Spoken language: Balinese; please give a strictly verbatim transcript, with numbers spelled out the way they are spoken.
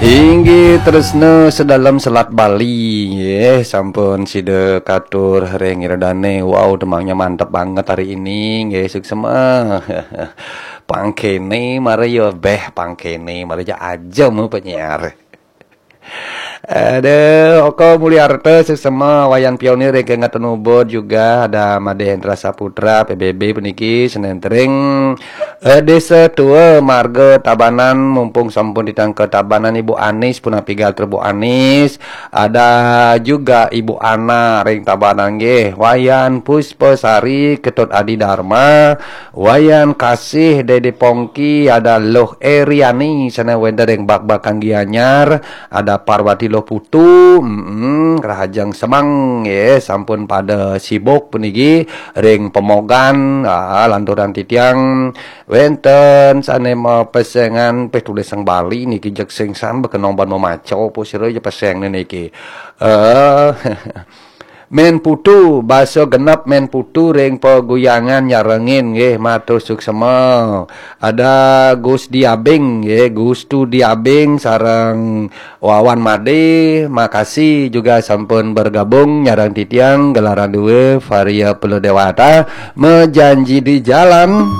Inggih tresna sedalem selat Bali, nggih, sampun sida katur ring iredane. Wow, demangnya mantep banget hari ini, nggih, suksema. Pangkene mara ya beh, pangkene mara ya aja mu penyiar. Aduh, Oko Mulyarta suksema, Wayan Pionir ring kengeten Ubud juga, ada Made Hendra Saputra, P B B puniki, senentring eh, Desa Tua, Marga Tabanan, mumpung sampun ditangka Tabanan, Ibu Anis, punapi gatra Bu Anis, ada juga Ibu Ana ring Tabanan nggih, Wayan Puspasari, Ketut Adi Dharma, Wayan Kasih, Dede Pongki, ada Luh Eriani, sana wenten ring Bakbakan Gianyar, ada Parwati Luh Putu, mm, Rahajeng Semang nggih, sampun pada sibuk puniki ring pemogan, ah, lanturan titiang wenten sane mapesengan peh tulisan Bali niki jeg singsan bekenong ban memaca apa sira ya peseng niki. Eh, Men Putu, basa genep Men Putu ring peguyangan nyarengin nggih, matur suksema. Ada Gus Diabing nggih, Gustu Diabing sareng Wawan Made, makasih juga sampun bergabung nyareng titiang gelaran dua Varia Pelu Dewata, mejanji di jalan.